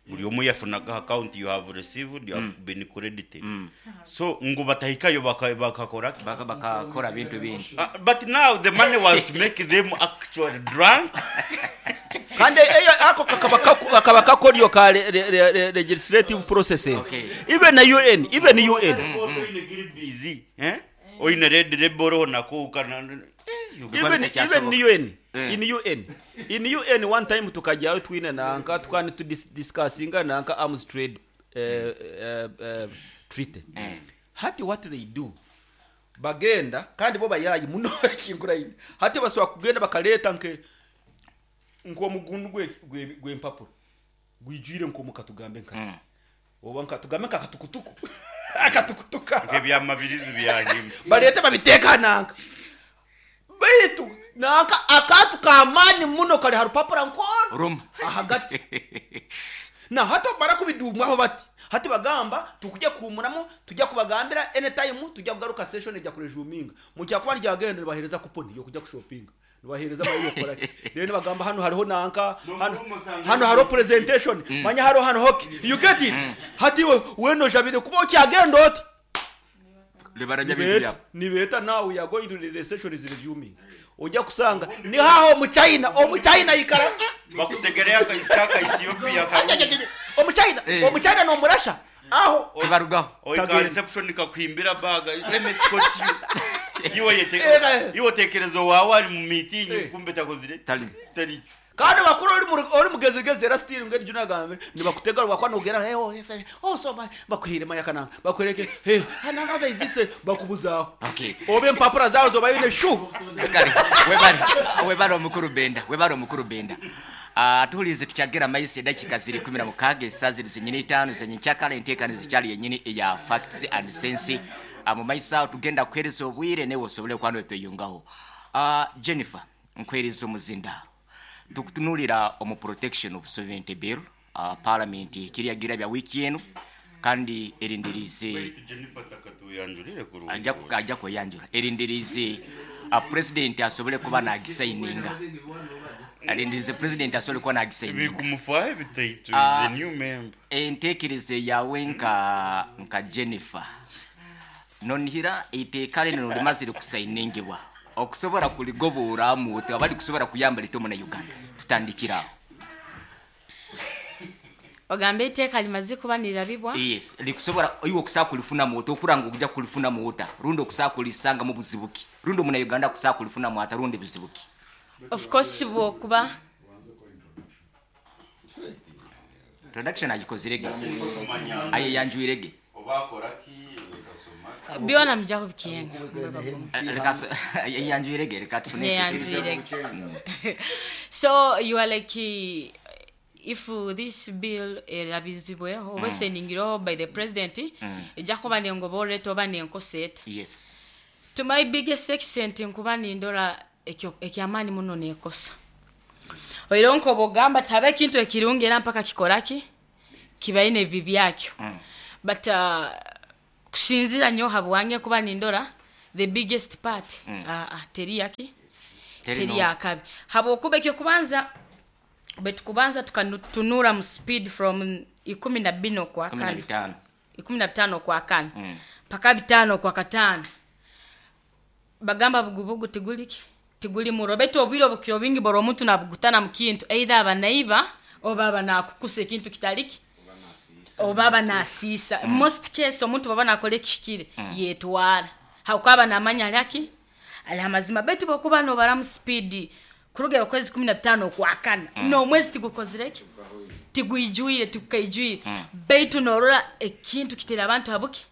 Buli omu yafunaga account, you have received, you have been credited. So ngo batahikayo bakakora ki? Bakakora bintu bingi. But now the money was to make them actually drunk. Kandi eyo ako kakaba kakoryo ka legislative processes. Okay. Even na UN, even UN. Oine busy, eh, oine red rebel nako kana Even Tekyasoboka. even UN. Eh. In UN one time tukajyayo twine nanka tukani tu discussinga nanka arms trade treaty. Hati what they do, bagenda kandi bo bayayi muno kinguraine, hati basobola kugenda bakaleta nke nk'omugundu gw'empapuro gwijwire nk'omukatugambe nka oba nkatugambe nkakatukutuku akatukutuka. Ebyamabirizi byahimba. Balete babiteeka nanka baitu nanka akantu kamaani muno kali ha rupapura nkoro Rumu. ahagati na hati bamara kubidumwaho bati hati bagamba tukujya kuhumuramu, tujya kubagambira anytime tujya kugaruka session ejya kuresuminga. Mukyakuba ryagenda nibahereza coupon yo kujya kushopinga, nibahereza amayi yo gukora ki, then bagamba hano hariho nanka hano, hano hariho presentation, manya hariho hano hockey. You get it? Hati we weno jabire kuba ukyagenda oti Libarabya bintu nibeta byabo. Nibeta now we are going to the session is resuming, ojya kusanga ni haho omuchina, omuchina ikara Bakutegereyo akaisi kaka Ethiopia. Omuchina. Eh. Omuchina nomurasha aho. Tebarugaho. Oika Tagenda. reception kakuhimbira baga, let me escort you. Iwe yete Eh, iwe tekerezo wawe ari mu meeting, Eh. kumbe takozire Tali. tali. Kandi bakuru ori mugezigezi era still ngeri juna gambe nibakutega rwakwa nogera, hey, oh, yes, oh, so my bakuhire maya kana bakwereke, hey, another is this, bakubuzaho. Okay. Obe empapura zawo zobayine shu. Kale webale, webale omukulu Benda, webale omukulu Benda. Ah, tuhulize tukyagera maisi edakika ziri 16, esaa ziri zenyini 5 zenyenkyakala, enteekano zikyali yenyini eya Facts and Sense. Ah, mu maiso awo tugenda kuhereza obwire newe osobole okuba notweyungaho. Ah, Jennifer, nkwereza omuzindaalo. Tukutunulira omu Protection of Sovereignty Bill. Parliament kiryagira bya wiiki eno kandi erindirize. Jennifer takatuyanjulire kurungi. Ajja kweyanjula. Erindirize president asobole kuba nagisayininga, arindirize president asobole kuba nagisayininga. Bikumufaho bitaitu. Ah. The new member. Enteekereza yawe nka Jennifer, nonihira iteeka lino limazire kusayiningibwa okusobola kuligoboramu oti abali kusobola kuyamba lito muna Uganda? Tutandikirawo. Ogambe etteeka limaze kuba nirabibwa? Yes, likusobola iwe okusobola kulifunamu ota, okuranga okujja kulifunamu ota, rundi okusobola kulisangamu buzibuki, rundi omuna Uganda kusobola kulifunamu ata, rundi buzibuki? Of course bwokuba Introduction agikozirege, ayeyanjwirege. Obakora ki bekasoma. Byona mujja kubikenga. Yeyanjwirege, reka tufune. Neyanjwirege. So you are like, if this bill erabizibwe oba esendingirweho by the president, ejja kuba nengoba oreta oba nenkosa eta? Yes. To my biggest extent, nkuba nindora Ekyamaani muno neekosa oireho nkoba ogamba tihaba ekintu ekirungi era mpaka kikoraki kibaine ebibi byakyo. But kusinziira nyowe habwange kuba nindora the biggest part teri yaki Teri teri no. yakabi habwokuba ekyokubanza bwetukubanza tukatunura mu speed from 14 okwa Kumi na kana bitaano. 15 okwakana paka 5 okwakataano bagamba bugubugu tiguliki tiguli muro baitu obwire obukiro bingi bora omuntu nabugutana mu kintu either aba naiba oba aba nakukusa ekintu kitaliki oba aba nasiisa. Most case omuntu bwaba nakora ekihikire yetwara habwokuba aba namanya alaki ali amazima, baitu bwokuba nobaramu speed kuruga okwezi 15 okwakana nomwezi tigukozireki tigwijwire tigukaijwire baitu norora ekintu kitera abantu habuki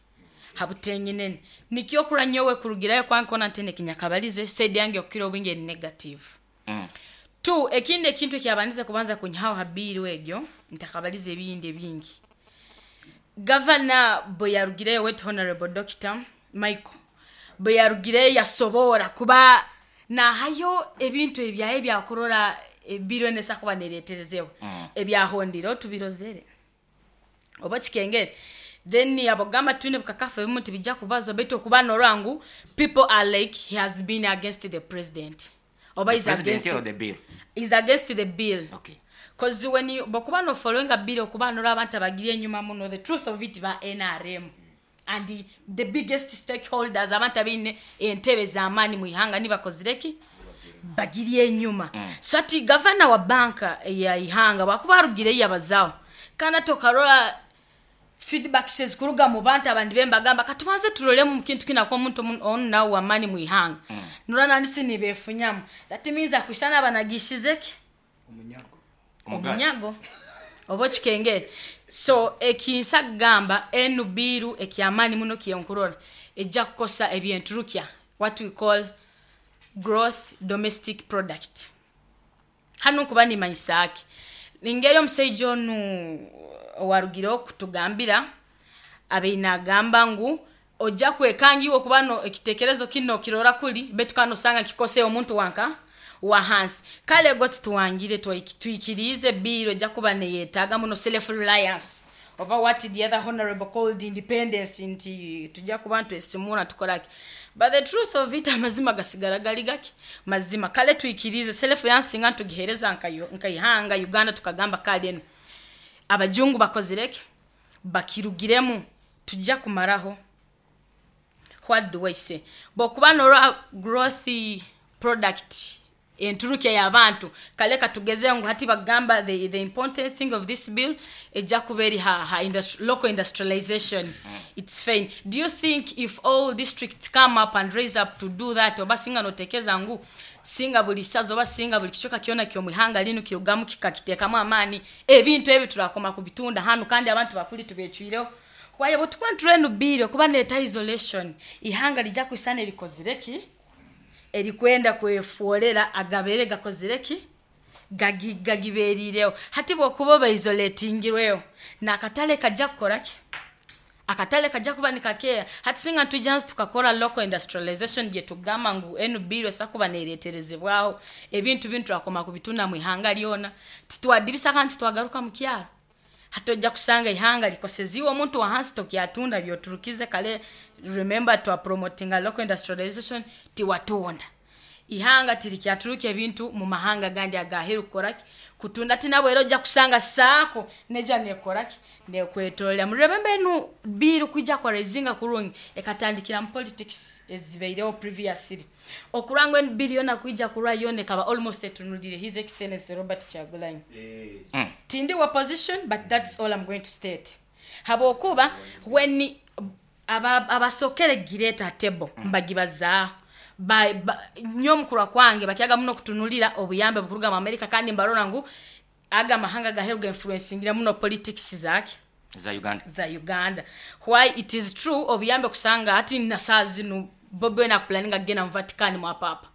habutengenene. Nikyo kura nyowe kurugirayo kwankona ntene kinyakabalize side yange okukira obwingi eri negative. Two, ekindi ekintu ekyabandize kubanza kunyihaho ha bill egyo ntakabalize ebindi ebingi, gavana bwe yarugireyo wet honorable Dr Michael bwe yarugireyo yasobora kuba nahayo ebintu ebyaye byakurora ebiro nesa kuba nereterezeho ebyahondire tubirozere oba kikengere. Then abagamba twine bukakafu ebimu tibijja kubazwa, baitu okuba norora ngu people are like he has been against the president oba The is president against or the bill? Is against the bill. Okay. Cause when you bokuba no following a bill okuba norora abantu abagiri enyuma muno, the truth of it, ba NRM and the biggest stakeholders, abantu abaine entebe z'amaani mu ihanga nibakozireki bagiri enyuma. So ati gavana wa banka ya ihanga bwakuba arugireyo yabazaho kandi ati okarora feedback zikuruga mu bantu abandi bembagamba katubanze turolemu mu kintu kinako omuntu onu nawe wamaani mu ihanga nurora nandisi nibefunyamu, that means akwisana abanagishizeki omunyago oba okikengere. So ekinsa kugamba enu biiru ekyamaani muno kyenkurora ejja kukosa ebyenturukya, what we call growth domestic product. Hanu nkuba nimanyisa ki ningeri omusaija onu owarugireho kutugambira abaine agamba ngu ojja kwekanga iwe okuba no ekitekerezo kino kirora kuli baitu kandi osanga kikose omuntu wanka wa hansi. Kale go tituwangire twikirize bill ejja kuba neyetaaga muno self reliance oba what the other honorable called independence, nti tujja kuba ntwesimura tukoraki, but the truth of it, amazima gasigara gali gaki mazima. Kale twikirize self reliance singa ntugihereza nkaihanga Uganda tukagamba kale eno abajungu bakozireke bakirugiremu tujja kumaraho. What do I say? Bwokuba norora growth product enturukya y'abantu, kale katugeze ngu hati bagamba the important thing of this bill ejja kuba eri ha local industrialization. It's fine. Do you think if all districts come up and raise up to do that, oba singa notekeza ngu singa buli saza oba singa buli kicoka kyona ky'omuihanga linu kirugamu kikakiteekamu amaani ebintu ebi turakoma kubitunda hanu kandi abantu bakuli tubecwireho? Kwaye bwetukuba nturenu bill okuba nereta isolation, ihanga lijja kwisana erikozireki erikwenda kwefuolera agabere gakozireki gagiberireho. Hati bwokuba oba isolatingirweho nakatale kajja kukoraki akatale kajja kuba nikakeya. Hati singa ntwija nsi tukakora local industrialization gye tugamba ngu enu bill esa kuba nereterezebwaho ebintu bintu turakoma kubitunda mu ihanga lyona, titwadibisa kandi titwagaruka mu kyaro. Hati ojja kusanga ihanga likoseziwe omuntu wa hansi tokyatunda byoturukize. Kale remember twa promotinga local industrialization, tiwatunda ihanga tirikyaturuka ebintu mu mahanga gandi agaheru kukoraki kutunda tinabwe. Era ojja kusanga saako neja nekoraki nekwetolera. Muremembe enu bill kwijja kwa raisinga kurungi ekatandikira mu politics ezibaireho previously okurangwa enu bill yona kwijja kurwa yona ekaba almost etunulire His Excellency Robert Kyagulanyi. Tindi wa position, but that's all I'm going to state, habwokuba when abasokere gireta table mbagibazaaho nyo mukurwa kwange bakyaga muno kutunulira obuyambe bukuruga mu America kandi mbarora ngu aga mahanga gaheruga influencingira muno politics zake za Uganda. Za Uganda. Why it is true obuyambe kusanga ati nasaa zinu Bobi Wine akupulaninga kugenda mu Vatican mwa papa,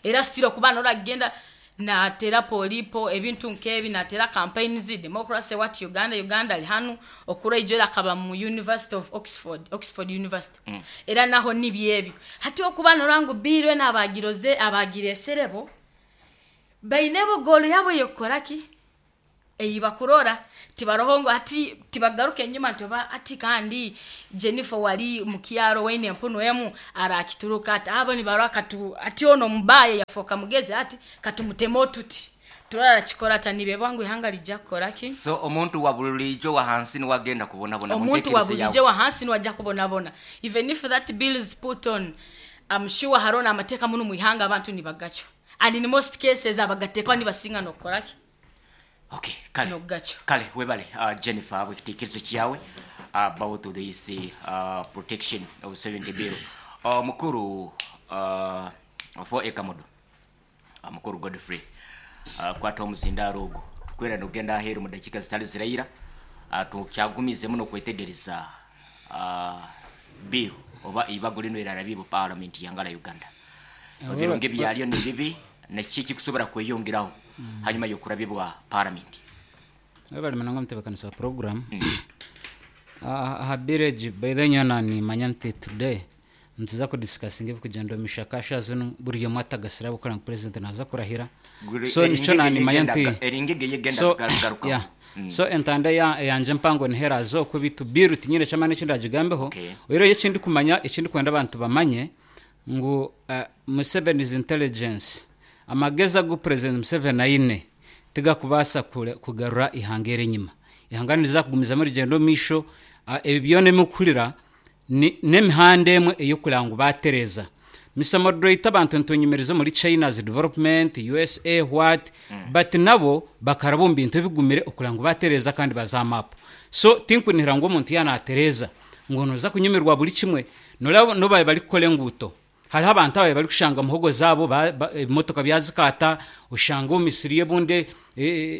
era still okuba nora kugenda Natera polipo ebintu nkebi, natera campaigns, democracy, what, Uganda, Uganda ali hanu okuraijo akaba mu University of Oxford, Oxford University. Era naho nibyebyo hati okuba norangu birwe n'abagiroze abagireserebo bainebo goal yabo yokukoraki eyi bakurora tibaroho ngo ati tibagaruka enyuma nti oba ati kandi Jennifer wali mukyaro waine empunu emu arakituruka ati abo nibarora katu ati ono mubaye yafoka mugezi ati katumutema otuti turara kikora ata nibebwa ngu ihanga lijja kukoraki. So omuntu wa bulijo wa hansi niwagenda kubonabona mu Omuntu wa ntekerezo yawe. bulijo wa hansi niwajja kubonabona even if that bill is put on. I'm sure harona amateeka muno mu ihanga abantu nibagacho, and in most cases abagatekwa nibasinga nokukoraki. Okay, kale. Nokugacyo. Kale webale, Jennifer, bwekitekerezo kyawe about this Protection of 70 Bill. Mukuru for ekamodo, mukuru Godfrey, kwata omuzindaaro ogwo kwera nogenda aheeru mu dakiika zitali ziraira. Tukyagumize muno kwetegereza bill oba ibago lino erarabibwa parliament yangala Uganda, ebirungi byalyo ni bibi nakiki kikusobola kweyongeraho hanyuma yokurabibwa parliament. Webale munonga mutebeekanisa program. Aha bill egi, by the nyona nimanya nti today nituza kudiscussinga ebikugyenda omu mishaka shaaha zinu, buri omwe atagasira abukora ngu president naza kurahira. So nikyo nanimanya nti Eringege yegenda so kugarukaho. Yeah. So entanda yanje mpango niherazo okwo bitu bill tinyine kyamani eki ndagigambeho. Oiro ekindi kumanya, ekindi kwenda abantu bamanye ngu Museveni's intelligence, amagezi agu President Museveni aine tigakubaasa kugarura ihanga eri enyima. Ihanga niriza kugumizamu rigenda omu maisho. Ebi byona ebikuhurira n'emihanda emwe ey'okureba ngu batereeza. Mr Moderator, abantu nitunyumiriza omuri China's development, USA, what, but nabo bakaraba omu bintu ebigumire okureba ngu batereeza kandi baza aha map. So tinkunihira ngu omuntu yanatereeza ngu noza kunyumirwa buri kimwe. Noraba nobaye bari kukora enguuto, hariho abantu abaye bari kushanga muhogo zaabo ebimotoka byazikaata, oshanga omu misiri y'ebunde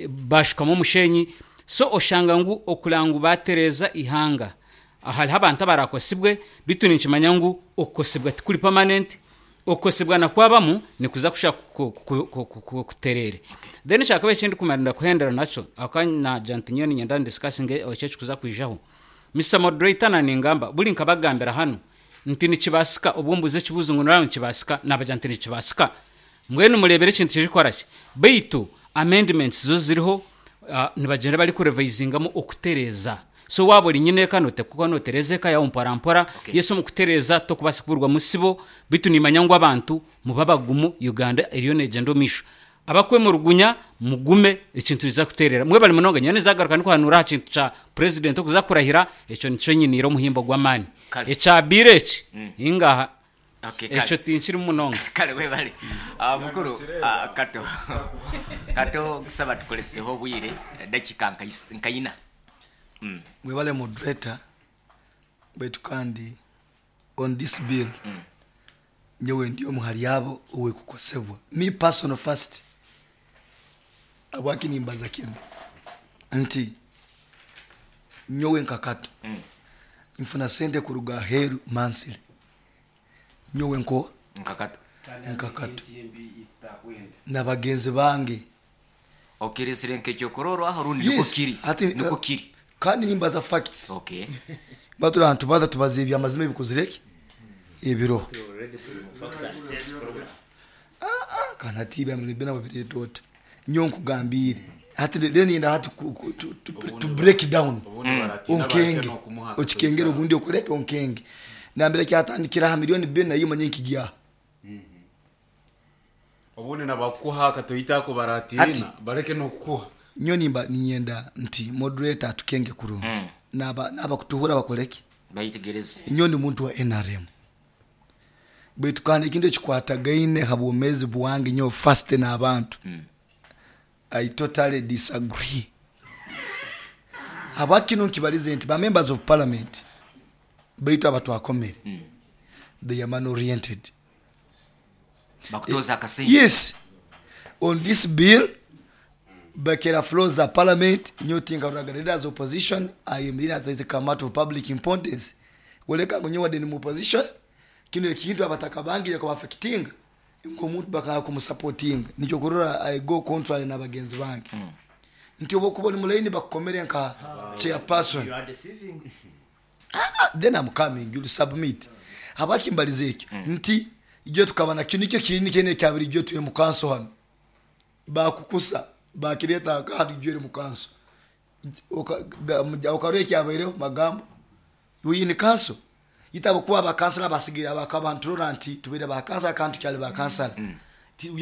bashukamu omushenyi. So oshanga ngu okureba ngu batereeza ihanga, hariho abantu abarakosibwe, bitu ninkimanya ngu okukosibwa tikuri permanent. Okukosibwa nakwabamu nikuza kusha kuterere. Then kyakaba ekindi kumarira kuhendera nakyo akanya nti nyowe ninyenda ndiscussinge ekyo ekikuza kwijaho. Mr Moderator, na ningamba buri nkabagambira hanu nti nikibasika obwo mbuze ekibuzo ngu noraba nikibasika, nabagira nti nikibasika mbwenu murebere ekintu kirikukora ki, baitu amendments zo ziriho, nibagyenda bari kurevisingamu okutereeza. So waba ori nyine eka noteekwa notereeza eka yawe mpora mpora. Yesu omu kutereeza tokubaasa kuburwa musibo, bitu nimanya ngu abantu muba bagumu, Uganda eriyo neegyenda omu maisho. Abakwemurugunya mugume, ekintu nikiza kuterera. Mwebale munonga. Nyowe nizagaruka ndikuhanura aha kintu kya president okuza kurahira, ekyo nikyo nyiniire omuhimbo gw'amaani. Kale. Ekya bill eki ingaha Okay, kale. ekyo tinkirimu munonga. Kale webale. Mukuru Kato, Kato kusaba tukoleseho obwire dakika nkaina. Mwebale moderator, baitu kandi on this bill nyowe ndi omu hali abo owekukosebwa, me personal first. Abwaki nimbaza kinu nti nyowe nka Kato nfuna sente kuruga aheru mansire, nyowe nko Nka Kato. Nka Kato na bagenzi bange. Okiresire nk'ekyokurorwaho rundi niko Yes, kiri? Niko kiri. Kandi nimbaza facts. Batura abantu baza tubaza ebyamazima ebikozireki ebiro kana tiba muri bena babiretota nyo nkugambire hati then yenda hati to break down. Onkenge okikengera obundi okureke onkenge nambere kyatandikira ha 2,000,000 nayo manye nkijya. Obundi nabakuha katoyitako baratina bareke nokukuha. Nyo nimba ninyenda nti moderator atukenge kurungi naba kutuhura bakoleke. Bayitegereze. Nyo ndi muntu wa NRM, baitu kandi ekintu ekikwatagaine ha bwomezi bwange nyo first n'abantu. I totally disagree. Habwakino nkibalize nti ba members of parliament baitu abatwakomere they are man oriented. Bakutoza akasente. Yes, on this bill bakera floor za parliament nyo tinga ruraga leaders opposition ayimirira as a matter of public importance woleka ngo nyo wadde ni mu opposition kino ekintu abataka bangi yakuba affecting. Nk'omuntu bakanga kumusapotinga, nikyo kurora I go contrary n'abagenzi bange nti oba okuba oli mulaini bakukomere nka chairperson. Then I'm coming, you'll submit. Habwaki mbalize ekyo? Nti ijo tukaba nakyo nikyo kini kyene ekyabiri ijo tuli mu kanso hano, bakukusa bakireta hano ijo eri mu kanso, okarora ekyabaireho magambo we in council itabo kuba abakansala basigaire abakabanturora nti tubaire bakansala kandi tukyali bakansala.